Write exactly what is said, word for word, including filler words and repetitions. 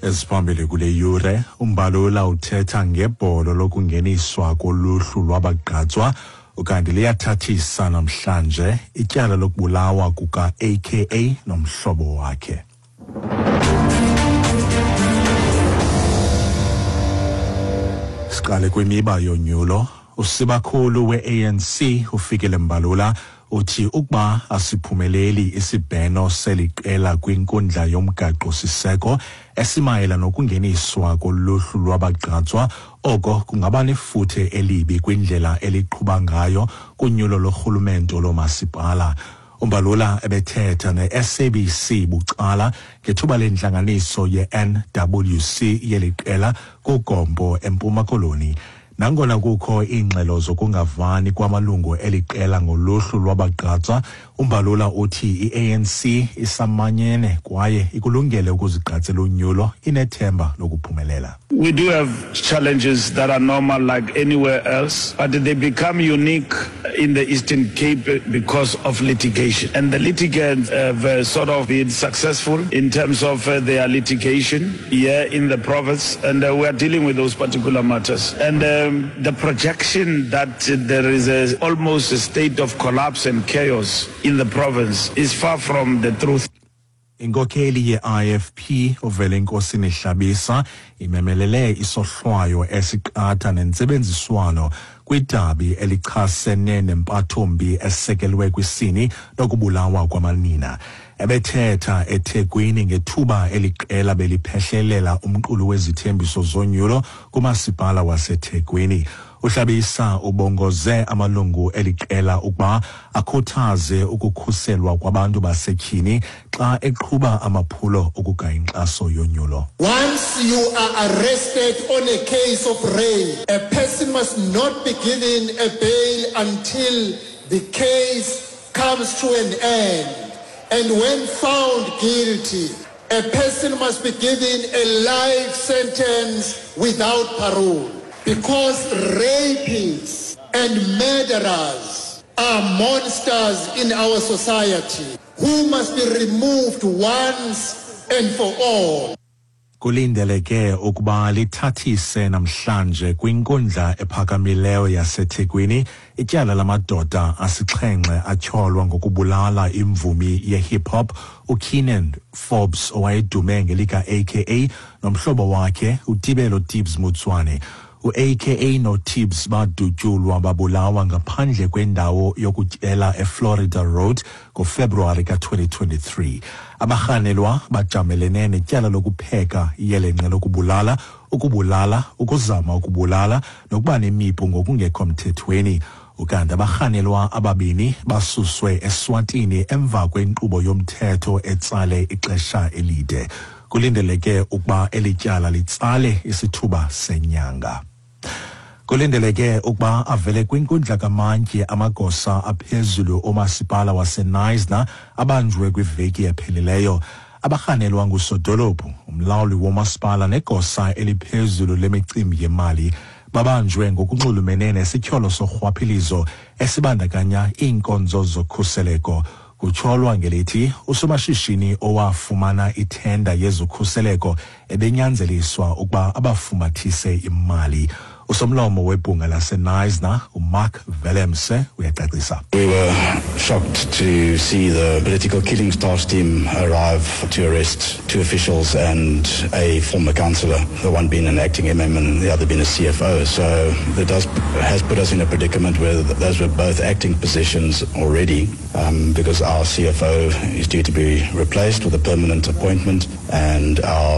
Eziphambili kule yure, uMbalula uthetha ngebholo lokungeniswa koluhlu lwabagqatswa, ukanti liyathathisa namhlanje ityala lokubulawa kuka-A K A nomhlobo wakhe. Siqale kwimiba yonyulo. Usibakhulu we-A N C uFikile Mbalula uthi ukuba asiphumeleli isibheno seliqela kwinkundla yomgaqo-siseko esimayela nokungeniswa koluhlu lwabagqatswa, oko kungaba nefuthe elibi kwindlela eliqhuba ngayo kunyulo lorhulumento lomasipala. Umbalula ebethetha ne-S A B C bucala ngethuba lentlanganiso ye-N W C yeliqela kuGompo eMpuma Koloni. Nangona kukho iingxelo zokungavani kwamalungu eliqela ngoluhlu lwabagqatswa, uMbalula uthi i-A N C isamanyene kwaye ikulungele ukuzigqatsela unyulo, inethemba lokuphumelela. We do have challenges that are normal like anywhere else, but they become unique in the Eastern Cape because of litigation. And the litigants have, uh, sort of been successful in terms of, uh, their litigation here in the province, and, uh, we are dealing with those particular matters. And, um, the projection that there is a, almost a state of collapse and chaos in the province is far from the truth. Inkokheli ye-I F P uVelenkosini Hlabisa imemelele isohlwayo esiqatha nentsebenziswano kwidabi elichasene nempathombi esekelwe kwisini nokubulawa kwamanina. Ebethetha eThekwini ngethuba eliqela beliphehlelela umqulu wezithembiso zonyulo kumasipala waseThekwini. Uhlabisa ubongoze amalungu eliqela ukuba akhuthaze ukukhuselwa kwabantu basetyhini xa eqhuba amaphulo okugaya inkxaso yonyulo. Once you are arrested on a case of rape, a person must not be given a bail until the case comes to an end. And when found guilty, a person must be given a life sentence without parole. Because rapists and murderers are monsters in our society who must be removed once and for all. Kulindeleke ukuba lithathise namhlanje kwinkundla ephakamileyo yaseThekwini ityala lamadoda asixhenxe atyholwa ngokubulala imvumi ye-hip hop uKiernan Forbes owayedume ngelika A K A nomhlobo wakhe uTibelo Tibz Motsoane. U-A K A noTibz badutyulwa babulawa ngaphandle kwendawo yokutyela eFlorida Road ngoFebruwari ka twenty twenty-three. Abarhanelwa bajamelene netyala lokupheka iyelenqe lokubulala, ukubulala, ukuzama ukubulala nokuba nemipu ngokungekho mthethweni. Ukanti abarhanelwa ababini basuswe eSwatini emva kwenkqubo yomthetho etsale ixesha elide. Kulindeleke ukuba eli tyala litsale isithuba senyanga. Kulindeleke ukuba avele kwinkundla kamantyi amagosa aphezulu omasipala waseKnysna abanjwe kwiveki ephelileyo. Abarhanelwa ngusodolophu, umlawuli womasipala negosa eliphezulu lemicimbi yemali babanjwe ngokunxulumene nesityholo sorhwaphilizo esibandakanya iinkonzo zokhuseleko. Kutyholwa ngelithi usomashishini owafumana ithenda yezokhuseleko ebenyanzeliswa ukuba abafumathise imali. Usomlomo webhunga laseKnysna, uMark Willemse, uyacacisa. We were shocked to see the political killings task team arrive to arrest two officials and a former councillor, the one being an acting M M and the other being a C F O. So that does, has put us in a predicament where those were both acting positions already, um, because our C F O is due to be replaced with a permanent appointment and our